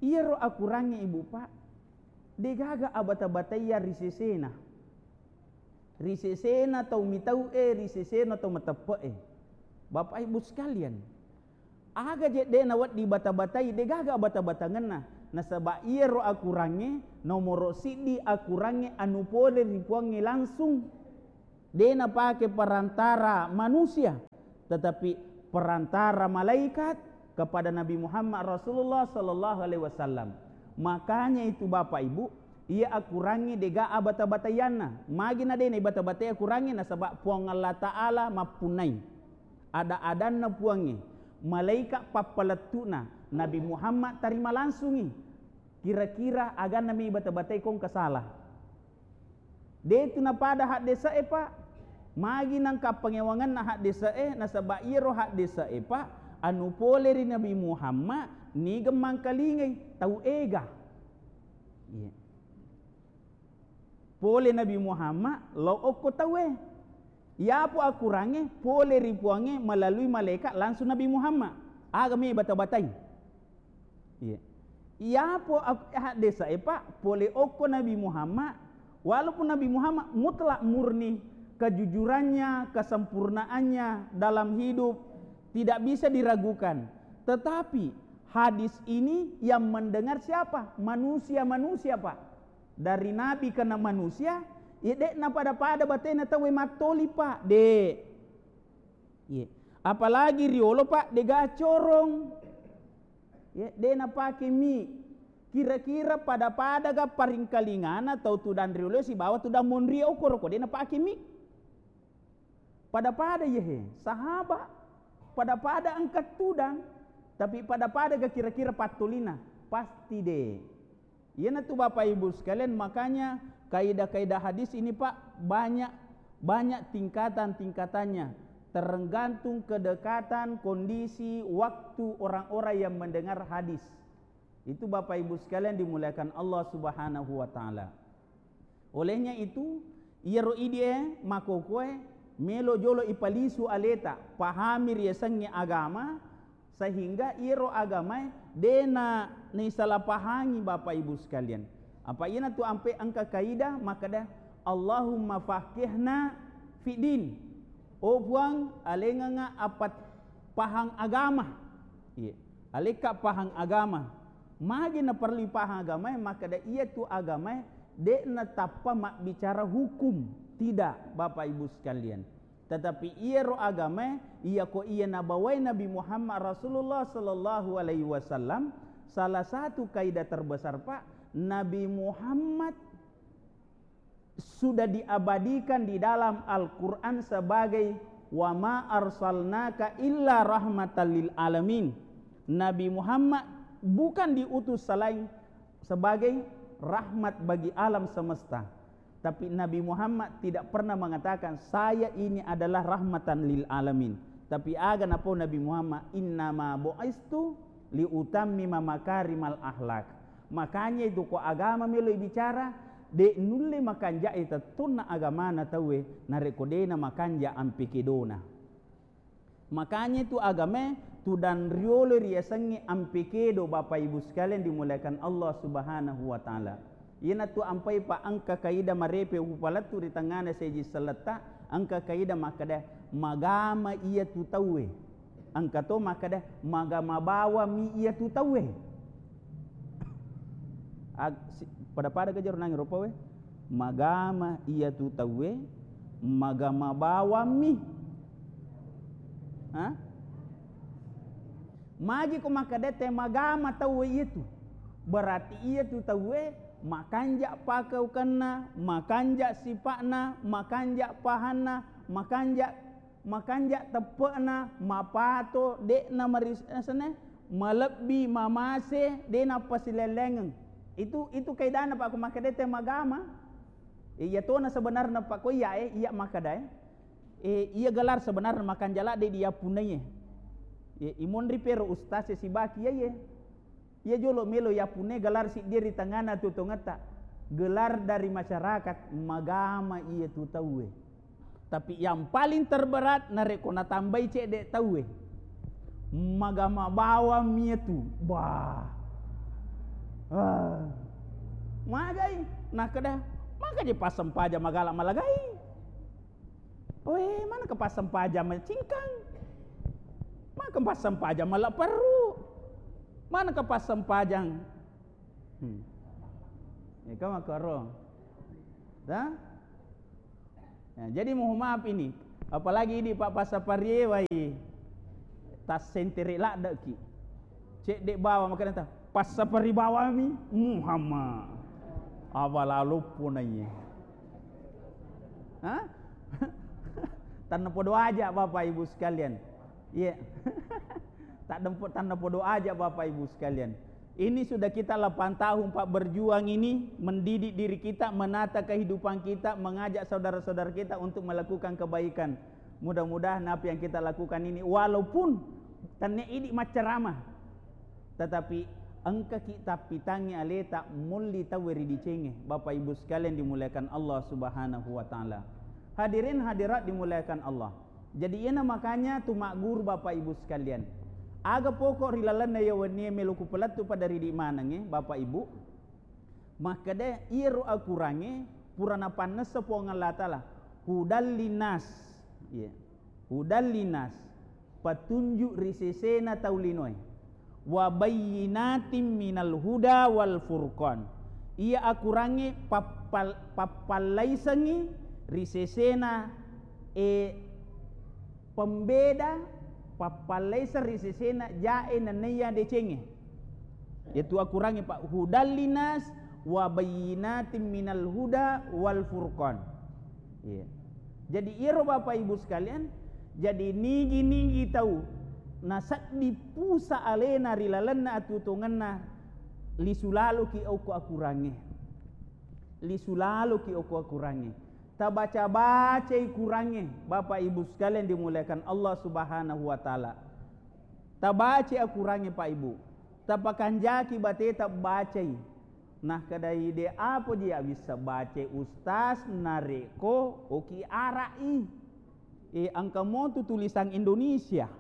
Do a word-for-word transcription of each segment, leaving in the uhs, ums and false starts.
Iyaro akurangnge, Ibu, Pak, degaga abata-bataiya ri sesena. Ri sesena tau mitau'e, ri sesena tau mateppe'e. Bapak Ibu sekalian, aga je de nawedding bata-batai, degaga bata-batangenna. Nasaba iyaro akurangnge, nomoro siddi akurangnge anu pole ri Puangnge langsung. De napake perantara manusia, tetapi perantara malaikat kepada Nabi Muhammad Rasulullah sallallahu alaihi wasallam. Makanya itu, Bapak Ibu, iya akurangnge dega abata-bataianna. Magi na de naibata-batai akurangnge, nasaba Puang Allah Ta'ala mappunnai. Ada-adanna Puangnge, malaikat pappalettu'na, Nabi Muhammad tarima langsungi. Kira-kira aganna mi bata-batai ko engka salah? Detu napada haddese'e, Pak. Magi nangka pangewangenna haddese'e, nasaba iyaro haddese'e, Pak, anu pole ri Nabi Muhammad, niga mangkalingai tau ega. Iya. Pole Nabi Muhammad, lao okko tauwe. Iyapo akurangnge, pole ri Puangnge melalui malaikat langsung Nabi Muhammad. Aga mi bata-batai? Iya. Iyapo ak-, haddese'e, Pak, pole okko Nabi Muhammad, walaupun Nabi Muhammad mutlak murni kejujurannya, kesempurnaannya dalam hidup tidak bisa diragukan. Tetapi hadis ini yang mendengar siapa? Manusia-manusia, Pak. Dari nabi kena manusia, ya de'na pada-pada batena tauwe mattoli, Pak. De. Iya. Apalagi riolo, Pak, dega corong. Ya, de napake mi. Kira-kira pada-pada ga paringkalingana tau tudang riolo sibawa tudang monri okoro ko de napake mi. Pada-pada yehe, sahaba. Pada-pada engka tudang, tapi pada-pada ga kira-kira pattolina? Pasti de. Iyanatu Bapak Ibu sekalian, makanya kaidah-kaidah hadis ini, Pak, banyak, banyak tingkatan-tingkatannya, tergantung kedekatan kondisi waktu orang-orang yang mendengar hadis. Itu Bapak Ibu sekalian dimuliakan Allah Subhanahu wa Ta'ala. Olehnya itu, iyaro idie makokoe melo jolo ipalisu aleta, pahami riasengnge agama, sehingga iyaro agamae dena nisalapahangi, Bapak Ibu sekalian. Apa iyanatu ampe engka kaidah makkeda, "Allahumma faqihna fiddin." Oh Puang, alengengnga appat pahang agama. Iya. Alekka pahang agama. Magi naperlu pahang agamae, makkeda iyatu agamae de'na tappa mabbicara hukum. Tidak, Bapak Ibu sekalian. Tetapi iyaro agamae, iyako iya nabawai Nabi Muhammad Rasulullah sallallahu alaihi wasallam, salah satu kaidah terbesar, Pak, Nabi Muhammad sudah diabadikan di dalam Al-Quran sebagai, "Wa ma arsalnaka illa rahmatan lil alamin." Nabi Muhammad bukan diutus selain sebagai rahmat bagi alam semesta. Tapi Nabi Muhammad tidak pernah mengatakan, "Saya ini adalah rahmatan lil alamin." Tapi aga napau Nabi Muhammad, "Innama bu'istu liutammima makarimal akhlak." Makanya itu ko agama melo bicara, de nulle makanjai tettonna agamana tauwe, narekko dena makanja ampe kedona. Makanya itu agamae tudang riolo riasengnge ampe kedo, Bapak Ibu sekalian dimuliakan Allah Subhanahu wa Ta'ala. Iyanatu ampai pa engka kaida marepe upalettu ri tengngana seji selletta, engka kaida makkeda, "Magama iyatu tauwe." Engka to makkeda, "Magama bawammi iyatu tauwe." Ag-, si-, pada-pada ga jaro nangi ropawe? Magama iyatu tauwe, magama bawammi. Ha? Magi ko makkeda te magama tauwe iyatu. Berarti iyatu tauwe makanja pakaukenna, makanja sipa'na, makanja pahanna, makanja makanja teppe'na, mapato, de'na maris-, asana, malebbi, mamase, de nappasilellengeng. Itu, itu kaidana, Pak, ko makkeda te magama. E, iya tona sebenarna, Pak, ko iya, e, iya makkeda, e. E, iya gelar sebenarna makanja ladde diyappunnai, e. E, imonri pero ustaz e sibaki, iya, iya. Iya jolo melo yappunne gelar siddi ri tengngana tu tongetta. Gelar dari masyarakat, magama iyatu tauwe. Tapi yang paling terberat narekko natambai cedde tauwe. Magama bawammi iyatu. Bah. Ah, magai, nakkeda, maka je passempajang magala malagai. Oe, manaka passempajang macingkang? Maka passempajang mala perru? Manaka passempajang? Hmm. Eka makaro. Dah? Nah, jadi mohon maaf ini, apalagi idi pa-, passaparie wai tassentere ladde ki. Cedde bawa makanya ta, passapari bawami Muhammad. Apa lalu punaiye? Hah? Tanna podo aja Bapak Ibu sekalian. Iya. Tak dempo-, tanna podo aja Bapak Ibu sekalian. Ini sudah kita delapan tahun, Pak, berjuang ini, mendidik diri kita, menata kehidupan kita, mengajak saudara-saudara kita untuk melakukan kebaikan. Mudah-mudahan apa yang kita lakukan ini, walaupun tenne idi macceramah, tetapi engkaki tappitangngi aleta mulli tauwe ri dicengnge. Bapak Ibu sekalian dimuliakan Allah Subhanahu wa Ta'ala. Hadirin hadirat dimuliakan Allah. Jadi, iyana makanya tu magguru, Bapak Ibu sekalian. Aga pokok ri lalenna iya wennie melo kupelettu pada ridi manengnge, Bapak Ibu? Makkeda, iyaro akurangnge pura napannessa Puang Allah Ta'ala. Hudal linnas. Iya. Hudal linnas. Patunju ri sesena tau linoe. Wa bayyinatin minal huda wal furqan. Iya akurangnge pappal-, pappallaisengngi ri sesena, e, pembeda, pappallaiseng ri sesena jae nenniya decengnge. Yaitu akurangnge, Pak, hudal linnas wa bayyinatin minal huda wal furqan. Iya. Jadi, iyaro Bapak Ibu sekalian, jadi nigi-nigi tau naseddi pusa alena ri lalenna atuo-tuongenna, lisu laloki okko akurangnge. Lisu laloki okko akurangnge. Tabaca-bacai kurangnge, Bapak Ibu sekalian dimuliakan Allah Subhanahu wa Ta'ala. Tabacai akurangnge, Pak Ibu. Tapakanjaki bateta bacai. Nah, kedai de apo ji abissa bacai ustaz narekko oki arak i. E, engka motu tulisan Indonesia.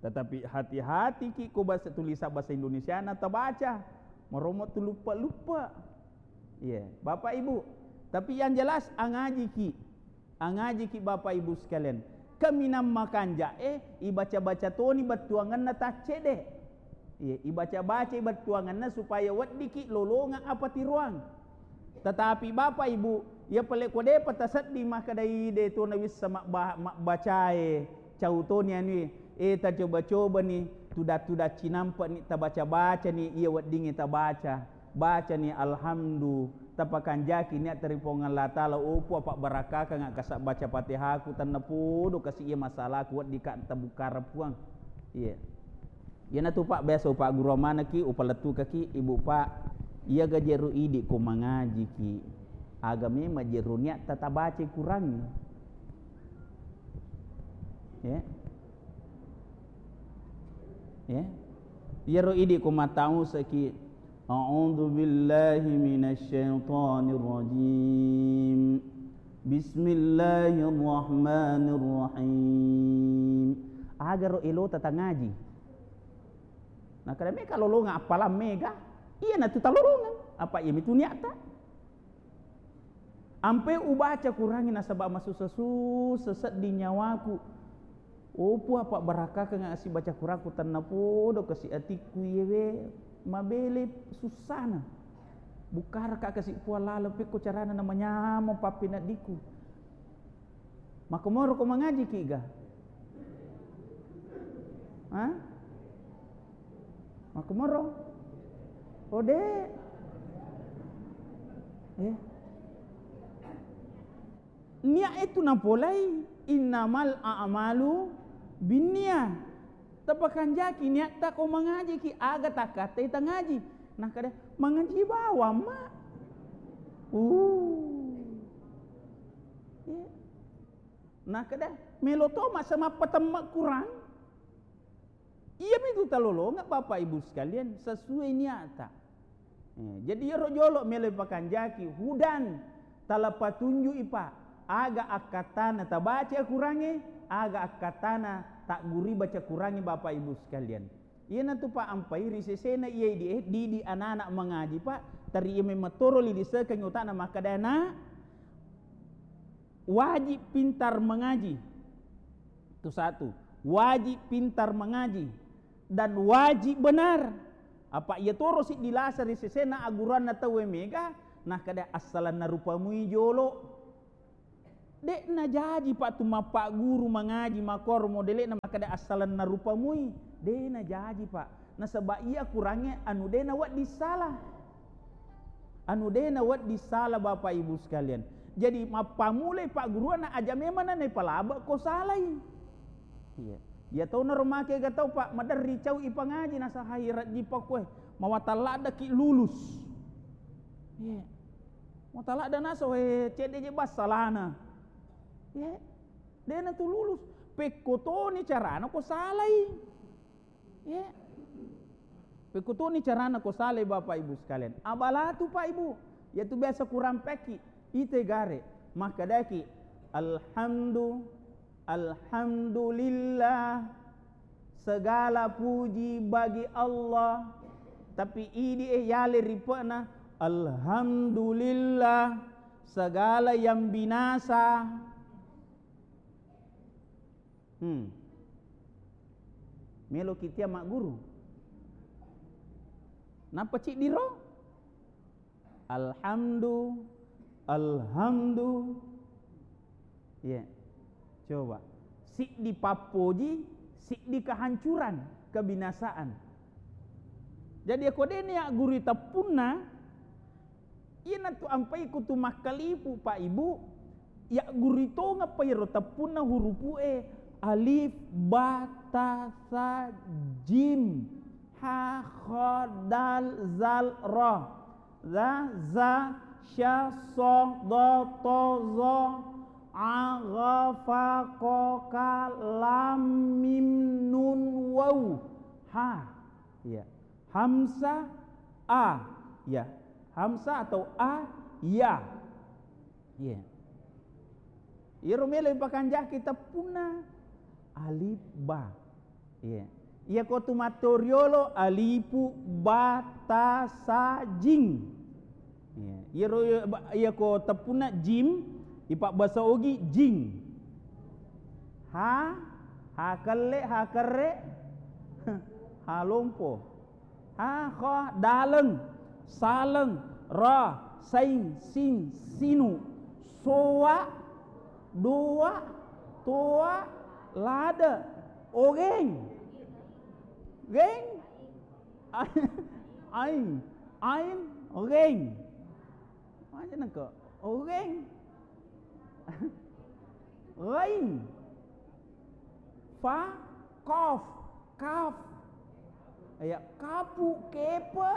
Tetapi hati-hati ki ko bahasa, tulisan bahasa Indonesia na tabaca. Maromo tu lupa-lupa. Iya, Bapak Ibu. Tapi yang jelas angaji ki. Angaji ki Bapak Ibu sekalian. Kaminang makanja e, ibaca-baca toni bettuangenna taccede. Iya, ibaca-baca bettuangenna supaya weddiki lolonga apa tiroang. Tetapi Bapak Ibu, iya pale ko depa tasedding makkedai de to nawissa mabba-, mabbacae, cau toni anui, e, tacoba-cobani, tuda-tuda cinampe'ni, tabaca-bacani iya weddingnge tabaca. Bacani alhamdu, tapakanjaki niatta ri Puang Allah Ta'ala, oh Puang, pabbarakkakangnga kasa baca Fatihaku, tennapodo kasi iya masalaku weddika tabukkareng Puang. Iya. Iyanatu, Pak, biasa upagguru manekki, upalettukaki, Ibu, Pak, iyaga jero idi ko mangajiki, aga memang jero niatta tabaca kurangngi. Ya. Ya. Iyaro idi ko matausaki, a'udzu billahi minasyaitonir rajim. Bismillahirrahmanirrahim. Agaro elota tangaji. Nah, kada meka lolongang appalang mega, iyanatu talolongang. Apa iyamitu niatta? Ampe ubaca kurangngi nasaba masussa-sussa sedding nyawaku. Oh Puang, pabbarakkakengnga sibaca kurangku, tennapodo kasi atikku iyewe mabele sussana. Bukkaraka kasi Puang laleng pekko carana namanyameng pappeneddikku. Makkomoro ko mangajiki ga? Ha? Makkomoro? Ode. Eh. Niat itu napolai, innamal a'malu binniyah. Tapakanjaki niatta ko mangajiki, aga takkattai tangaji. Nakkeda, mangaji bawang ma. Uh. Iya. Nakkeda, melo to masa mappatemme kurang. Iyamitu talolonga Bapak Ibu sekalian, sesuai niatta. Eh, jadi iyaro jolo melo pakanjaki, hudan, tala patunju'i Pak, aga akkattana tabaca kurangnge, aga akkattana tagguri baca kurangnge Bapak Ibu sekalian. Iyanatu, Pak, ampai ri sesena iya idi e, didi anak-anak mangaji, Pak, teri iya memeng toro lilisekeng utana makkeda, "Nak, wajib pintar mengaji." Itu satu, wajib pintar mengaji dan wajib benar. Apa iya toro siddi lasa ri sesena agguruanna tauwe mega, nakkeda, "Assalenna rupamui jolo." De'na jaji, Pak, tu mappagguru mangaji makkoro modele'na makkeda assalenna rupamui. De'na jaji, Pak. Nasaba iya kurangnge anu de nawedding sala. Anu de nawedding sala, Bapak Ibu sekalian. Jadi mappamulai pagguruanna aja memang na naipalabe ko salai. Iya. Iya tau naro make ga tau, Pak, maderri cau ipangaji nasahai rajji pakkoe. Mawatang laddaki lulus. Iya. Mawatang ladda naso, eh, cedde je bassalana. Iya. De'na tu lulus. Pekko toni carana ko salai. Iya. Pekko toni carana ko salai, Bapak Ibu sekalian. Abalatu, Pak Ibu. Yaitu biasa kurang peki. Ite gare. Makkedaki, "Alhamdu, alhamdulillah. Segala puji bagi Allah." Tapi idi e yale ripe'na, "Alhamdulillah. Segala yang binasa." Hmm. Meloki tia magguru. Nappa ciddiro? Alhamdu, alhamdu. Iya. Coba. Siddi pappoji, siddi kehancuran, kebinasaan. Jadi, ako deni aggurui teppunna, iyanatu ampai kutu makkalipu, Pak Ibu, yaggurui tongeng pa iyaro teppunna hurupu e, alif, ba, ta, sa, jim, ha, kha, dal, zal, ra. Za, za, sya, so, do, to, zo, a, gha, fa, ko, ka, lam, mim, nun, waw, ha. Iya. Hamsa, a. Iya. Hamsa atau a, ya. Iya. Iyaro melo ipakanjaki teppunna alif ba. Iya. Iya ko tu mattoriolo alifu ba ta sa jing. Iya. Iyaro iya ko teppunna jim ipabbasa ogi jing. Ha, ha kelle, ha kerre, ha lompo. Ha, kha, daleng, saleng, ra, saing, sing, sinu, soa, doa, toa, lada, ogeng. Geng. Aing, aing, ogeng. Macam nengko. Ogeng. Ghain. Fa, qaf, kaf. Ya, kapu, kepe,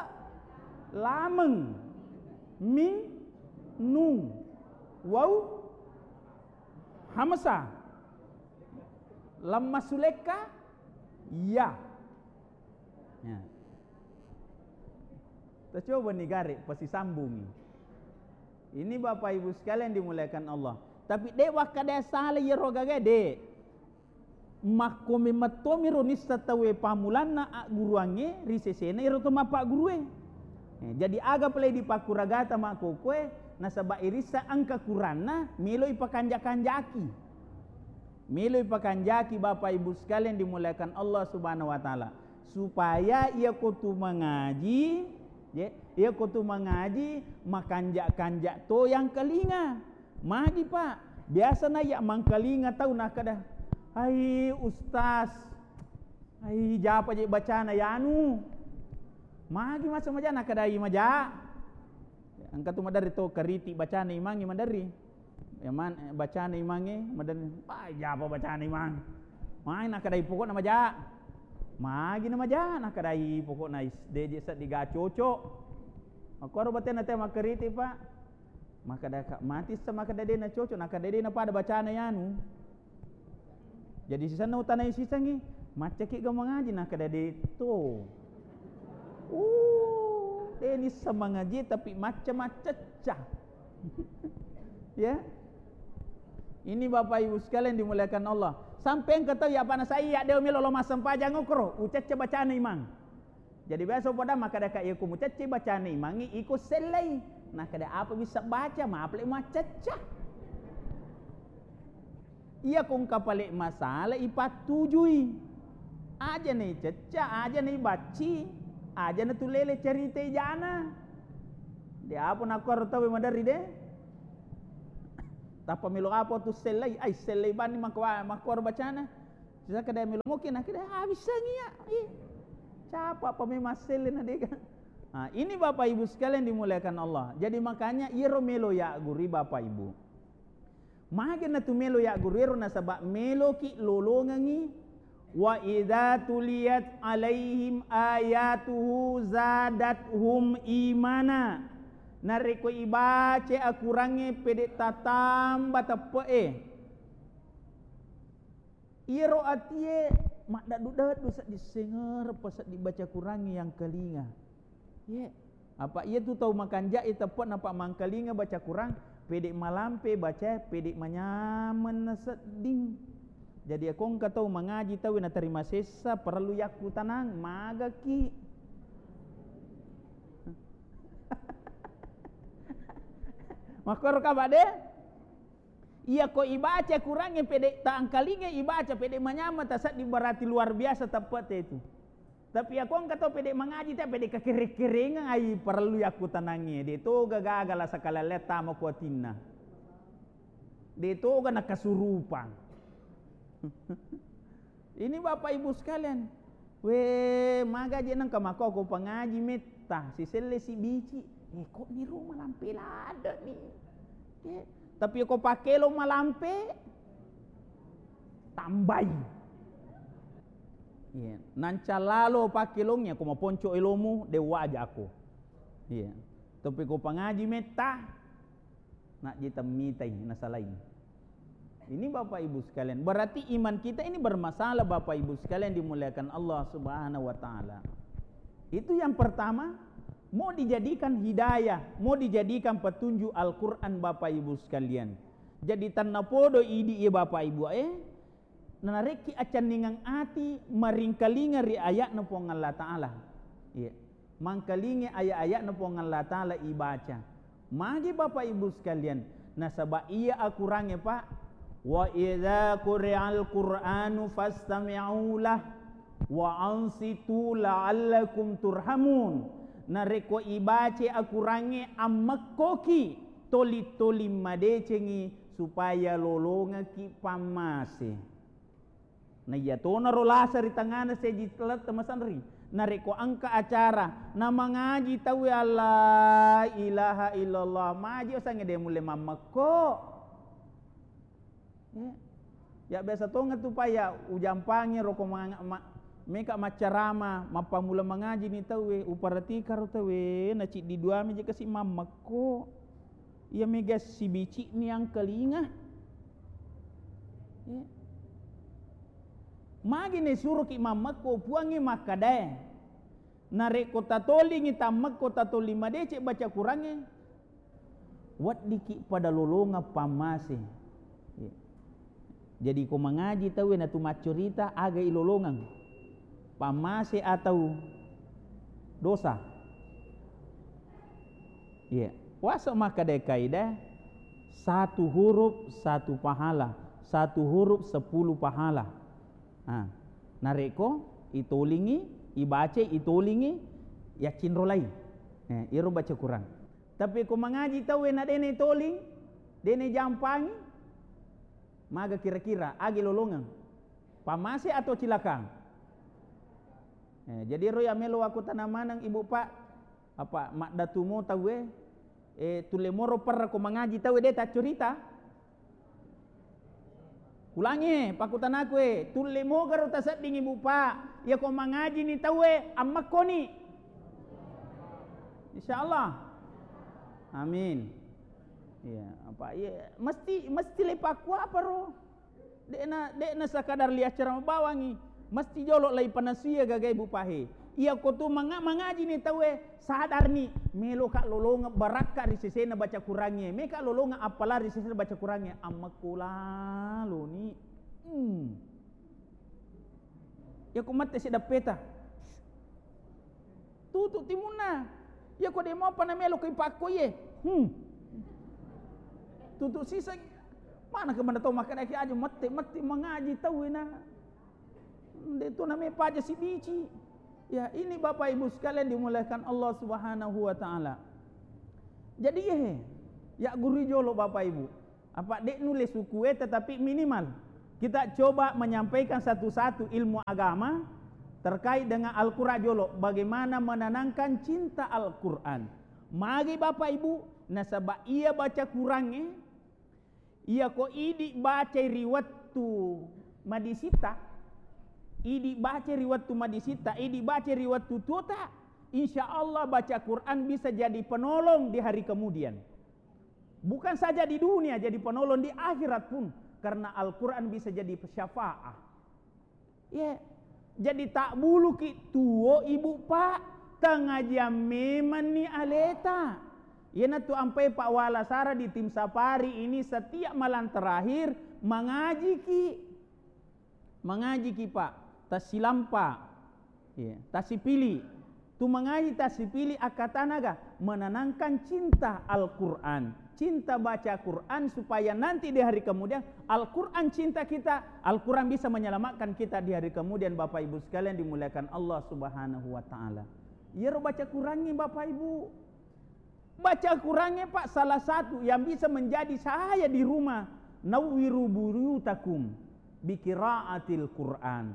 lameng, mim, nun, waw, hamsa, lamma sulekka, ya. Ya. Tacoba ni gare, pasisambungi. Ini Bapak Ibu sekalian dimuliakan Allah. Tapi de wakkada sala iyaro gaga de. Makko memettomi ro nissa tauwe pamulanna agguruangnge ri sesena iyaro to mappaggurue. Eh, jadi aga pale dipakkuragata makkokoe nasaba irissa engka kuranna melo ipakanja-kanjaki. Melo ipakanjaki Bapak Ibu sekalian dimuliakan Allah Subhanahu wa Ta'ala, supaya iya ko tu mangaji, ye, iya ko tu mangaji makanja-kanja to yang kelinga. Magi, Pak? Biasa na iya mangkalinga tau nakkeda, "Hai Ustaz, hai japa je bacana yanu." Magi masa maja nakkeda i maja. Engka tu maderri to kariti bacana imangnge maderri. Eman, eh, bacana imangnge, madan, "Wah, japa bacana imang." Mai nakkadai pokokna maja. Magi na maja, nakkadai pokokna is-, de je seddi ga cocok. Makkoro batena te makkariti, Pak. Makkada ka, mati sa makkada de na cocok, nakkada de na pada bacana yanu. Jadi sisenna utanai sisengngi, "Maccaki ga mangaji?" Nakkada de to. Uh, de nissa mangaji tapi macca-maccacca. Ya. Ini Bapak Ibu sekalian dimuliakan Allah. Sampai engka tau ya, apa nasai ya, de' melo lo massempajang okoro, ucecce bacana imang. Jadi biasa pada makkada ka, iya ko mucecce bacana imangngi, iko sellei. Nakkada, apa bisa baca, mapale maccecca. Iya ko engka pale masalah ipattujui. Aja na icecca, aja na ibacci, aja na tulele cerita ijana. De' apa nakkoro tau maderri de'. Tappa melo apa tu sellei, ai sellei bani makko-, makkoro bacana. Sisa kada melo moki, na kada habis sangia. Ih. Capa apa memang selle na dega. Ah, ini Bapak Ibu sekalian dimuliakan Allah. Jadi makanya iyaro melo ya guri Bapak Ibu. Mage na tu melo ya guru ero nasaba meloki lolongengi. Wa idza tuliyat alaihim ayatuhu zadathum imana. Narekko ibace akurangnge pede tatamba teppe'e. Iyaro atie maddaddu-daddu seddi sengereppa seddi baca kurangnge yang kelinga. Ye, apa iya tu tau makanja'e teppe'na pa mangkalinga baca Quran, pede malampe bacae, pede manyameng na sedding. Jadi, ako engka tau mangaji tau natarima sessa, parellu yakkutanang, magaki. Makkoro kaba de? Iya ko ibaca Qurangnge pede tangkalinga ibaca pede manyameng tasedding berarti luar biasa teppe'te itu. Tapi ako engka to pede mangaji te, pede kakere-kerengeng, ai parellu yakkutanangnge. De toga gaga la sakalelletta mako atinna. De toga nakasurupang. Ini Bapak Ibu sekalian. We, maga je nengka mako ko pangaji metta, siselle sibici. Eh, kok ni rumah lampe lada ni. Eh, tapi ko pakelo malampe, tambai. Iya, nanca lalo pakkelongnya ko maponco elomu, dewa aja aku. Iya. Tapi ko pangaji metta, najji temmitai, nasalai. Ini Bapak Ibu sekalian, berarti iman kita ini bermasalah Bapak Ibu sekalian dimuliakan Allah Subhanahu wa Ta'ala. Itu yang pertama, mau dijadikan hidayah, mau dijadikan petunjuk Al-Quran Bapak Ibu sekalian. Jadi tanna podo idi ya Bapak Ibu, eh, narekki acanningang ati maringkalinga ri ayatna Puang Allah Ta'ala. Iya. Mangkalinga ayat-ayatna Puang Allah Ta'ala ibaca. Magi Bapak Ibu sekalian, nasaba iya akurangnge, Pak. Wa idza quri'al Qur'anu fastami'u lah wa ansitu la'allakum turhamun. Narekko ibace akurangnge, ammekkoki, toli-toli madecengi supaya lolongekki pammase. Na iya tonaro lasa ri tangngana seji lette masanri. Narekko engka acara, namangaji tauwe, "La ilaha illallah," maji osangnge de mulle mammekko. Ya. Ya biasa tongeng tu pa ya ujampangi roko ma-, ma-, meka maccarama, mappammula mangaji ni tauwe, uparatika ro tauwe, na ciddi duami je kasi mammekko. Iya mega sibici'ni angkalinga. Ya. Magi ne suroki mammekko, Puangnge makkadae, narekko tatolingi tammekko, tatoli madeceng baca Kurangnge, weddikki pada lolongeng pammase. Ya. Jadi ko mangaji tauwe natu maccorita, aga ilolongeng? Pammase atau dosa? Iya. Waso makkeda kaidah, satu huruf satu pahala, satu huruf sepuluh pahala. Ah, narekko itolingi, ibaca, itolingi, yaccinrolai. Eh, iro baca Quran. Tapi ko mangaji tauwe na dene toling, dene jampangi, maga kira-kira, agi lolongeng? Pammase atau cilaka? Eh, jadi ro ya melo aku tanang maneng Ibu Pak, apa maddatumo tauwe, eh, tulle moro perra ko mangaji tauwe de taccorita? Ulangi, pakkutanaku e, tulle mogaro tasedding Ibu Pak, iya ko mangaji ni tauwe, ammekkoni? Insya Allah. Amin. Iya, apa iya, mesti, mesti le pakkuaparo. De'na, de'na sakadar liacara mabawangi, mesti jolo lai panasuya gagai Bu Pahe. Iya ko tu manga-, mangaji ni tauwe, sadarni, meloka lolongeng barakka ri sesena baca Kurangnge, meka lolongeng appala ri sesena baca Kurangnge, ammekko laloni. Hmm. Iyako mette si dappeta. Tutu timunna. Iyako de mopa na melo ko ipakko iye. Hmm. Tutu sisa. Mana ke mana tau makkeda ki aja mette, mette mangaji tau ina. De tu namanya paja si bici. Ya, ini Bapak Ibu sekalian dimuliakan Allah Subhanahu wa Ta'ala. Jadi, eh, ya guru jolo Bapak Ibu. Apa dek nulis suku, eh, tetapi minimal kita coba menyampaikan satu-satu ilmu agama terkait dengan Al-Quran jolo. Bagaimana menanamkan cinta Al-Quran. Magi Bapak Ibu, nasaba iya baca Quran, eh, Iyako idi bacai ri wettu madisita, idi bacai ri wettu madisita, idi bacai ri wettu tuota, insya Allah baca Quran bisa jadi penolong di hari kemudian. Bukan saja di dunia, jadi penolong di akhirat pun. Karena Al-Quran bisa jadi syafaat. Ye, jadi tabbuluki tuo ibu, Pak, tengajiang memanni aleta. Iyanatu ampai Pak Wala Sara di tim safari ini setiap malam terakhir mangajiki. Mangajiki, Pak. Tasilampa. Ye, tasipili. Tu mangaji tasipili akkatanaga menanamkan cinta Al-Quran, cinta baca Quran, supaya nanti di hari kemudian Al-Quran cinta kita, Al-Quran bisa menyelamatkan kita di hari kemudian. Bapak Ibu sekalian dimuliakan Allah Subhanahu wa Ta'ala, iyaro baca Qurannya Bapak Ibu, baca Qurannya Pak salah satu yang bisa menjadi cahaya di rumah. Nawwiru buyutakum bikiraatil Quran.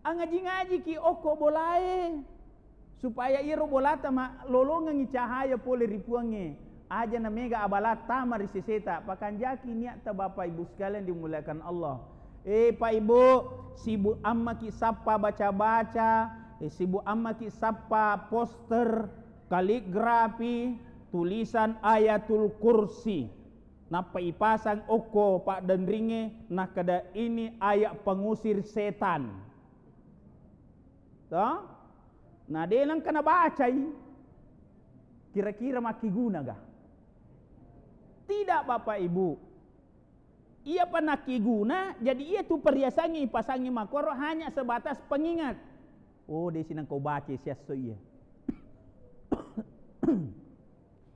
Angaji-ngajiki okko bolae, supaya iyaro bolata malolongengngi cahaya pole ri Puangnge. Aja na mega abala tama ri seseta, pakanjaki niatta Bapak Ibu sekalian dimuliakan Allah. Eh, Pak Ibu, sibuk ammaki sappa baca-baca, eh, sibuk ammaki sappa poster, kaligrafi, tulisan Ayatul Kursi. Nappa ipasang okko paddenringnge, nakkeda ini ayat pengusir setan. Toh? Na de nengka nabacai, kira-kira makkiguna ga? Tidak, Bapak Ibu. Iyapa nakkiguna, jadi iya tu perhiasangnge ipasangngi makkoro hanya sebatas pengingat. Oh, de sinengka ubaca siesso iya.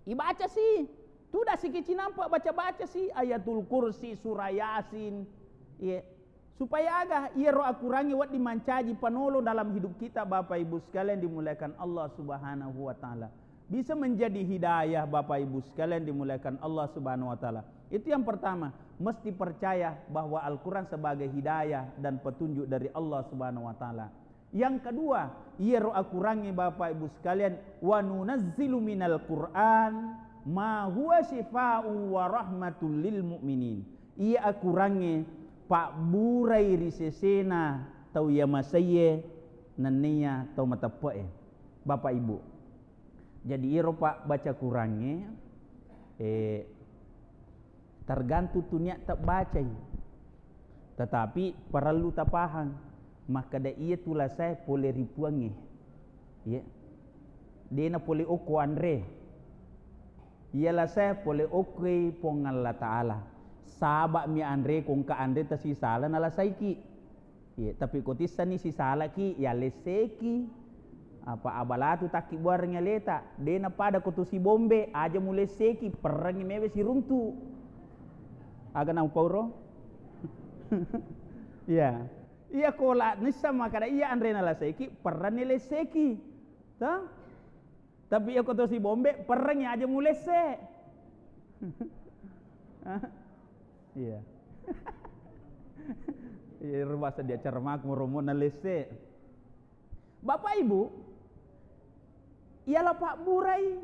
Ibaca si, tudang siki cinampa baca-baca si Ayatul Kursi, surah Yasin. Iya. Supaya aga iyaro akurangnge wedding mancaji panolong dalam hidup kita, Bapak Ibu sekalian dimuliakan Allah Subhanahu wa Ta'ala. Bisa menjadi hidayah, Bapak Ibu sekalian dimuliakan Allah Subhanahu wa Ta'ala. Itu yang pertama, mesti percaya bahwa Al-Quran sebagai hidayah dan petunjuk dari Allah Subhanahu wa Ta'ala. Yang kedua, iyaro akurangnge Bapak Ibu sekalian, wa nunazzilu minal Qur'an ma huwa syifaa'u wa rahmatul lil mu'minin. Iya akurangnge pabburai ri sesena tau iya masaiye nenniya tau mateppe'e. Bapak Ibu, jadi iyaro pa baca Qurangnge, eh, tergantung tu niat tabbacai. Tetapi parellu tapahang, makkeda iya tu lasae pole ri Puangnge. Iya. Dena pole okko anre. Iya lasae pole okkoi Puang Allah Ta'ala. Saba'mi anre, ko engka anre tasisala nalasaiki. Iya, tapi ko tissani sisalaki, yalesseki. Apa abalatu takkibbuarengngi aleta, de napada ko tu sibombe, aja mulesseki, perrengngi mewe siruntu. Aga naupauro? Iya. Iya, ko la nissa makkada iya anre nalasaiki, perrenni lesseki. Toh? Tapi iya ko to sibombe, perrengngi aja mulesse. Iya. Iya, ero bahasa di acara maku, romo na lesse. Bapak Ibu, iyalah pabburai.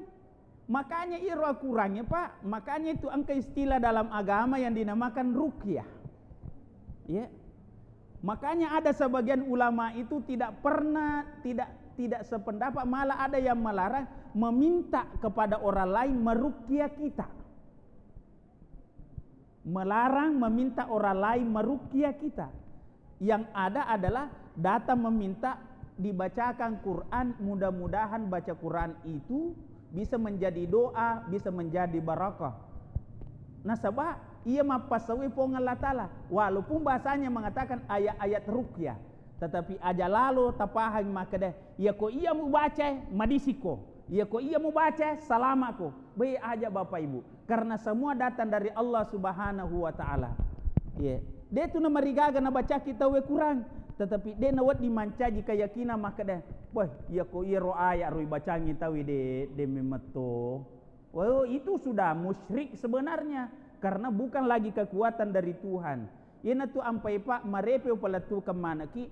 Makanya iro akurangnge, Pak. Makanya itu engka istilah dalam agama yang dinamakan ruqyah. Ya. Makanya ada sebagian ulama itu tidak pernah, tidak, tidak sependapat, malah ada yang melarang meminta kepada orang lain meruqyah kita. Melarang meminta orang lain meruqyah kita. Yang ada adalah datang meminta dibacakan Quran, mudah-mudahan baca Quran itu bisa menjadi doa, bisa menjadi barakah. Nasaba iya mappassaui Puang Allah Ta'ala, walaupun bahasanya mengatakan ayat-ayat ruqyah. Tetapi aja lalo tapahang makkeda, iyako iya mubaca, madisiko. Iyako iya mubaca, salamako. Be, aja Bapak Ibu. Karena semua datang dari Allah Subhanahu wa Ta'ala. Iya. De tu namarigaga nabacaki tauwe Quran, tetapi de nawedding mancaji keyakinan makkeda, "Wah, iyako iyaro ayat ro ibacangi tauwe de, de memetto." Oh, itu sudah musyrik sebenarnya, karena bukan lagi kekuatan dari Tuhan. Iyanatu ampai pa marepe upalettukeng maneki,